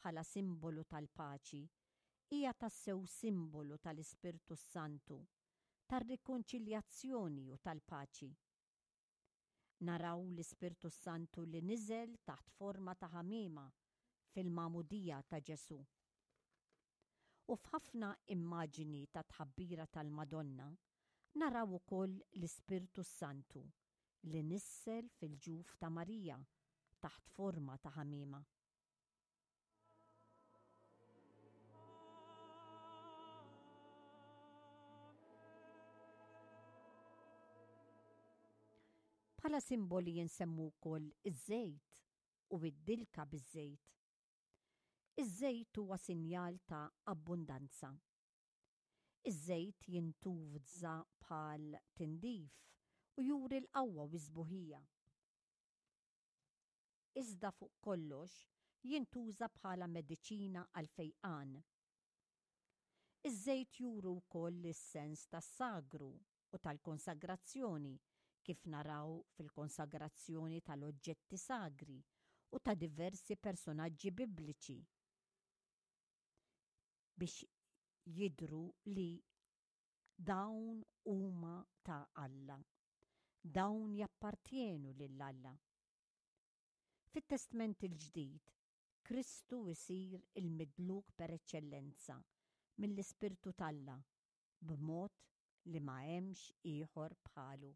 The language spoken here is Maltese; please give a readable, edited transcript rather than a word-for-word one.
bħala simbolu tal-paċi hija tassew simbolu tal-Ispirtu s-Santu, tar-rikonċiljazzjoni u tal-paċi. Naraw l-Ispirtu s-Santu li niżel taħt forma ta' ħamiema fil-magħmudija ta' Ġesù. U f'ħafna immaġini ta' tħabbira tal-Madonna naraw ukoll l-Ispirtu s-Santu li nissel fil-ġuf ta' Marija taħt forma ta' ħamiema. Bħala simboli jinsemmu wkoll iż-żejt u id-dilka biż-żejt. Iż-żejt huwa sinjal ta' abbundanza. Iż-żejt jintuża bħal tindif u juri l-qawwa u s-sbuħija. Iżda fuq kollox jintuża bħala mediċina għall-fejqan. Iż-żejt juru wkoll is-sens tas-sagru u tal-konsagrazzjoni kif naraw fil-konsagrazzjoni tal-oġġetti sagri u ta' diversi personaġġi bibliċi biex jidhru li dawn huma ta' Alla. Dawn jappartjenu lil Alla. Fit-Testment il-Ġdid, Kristu jsir il-midluk per eċċellenza mill-Ispirtu t'Alla b'mod li ma hemmx ieħor bħalu.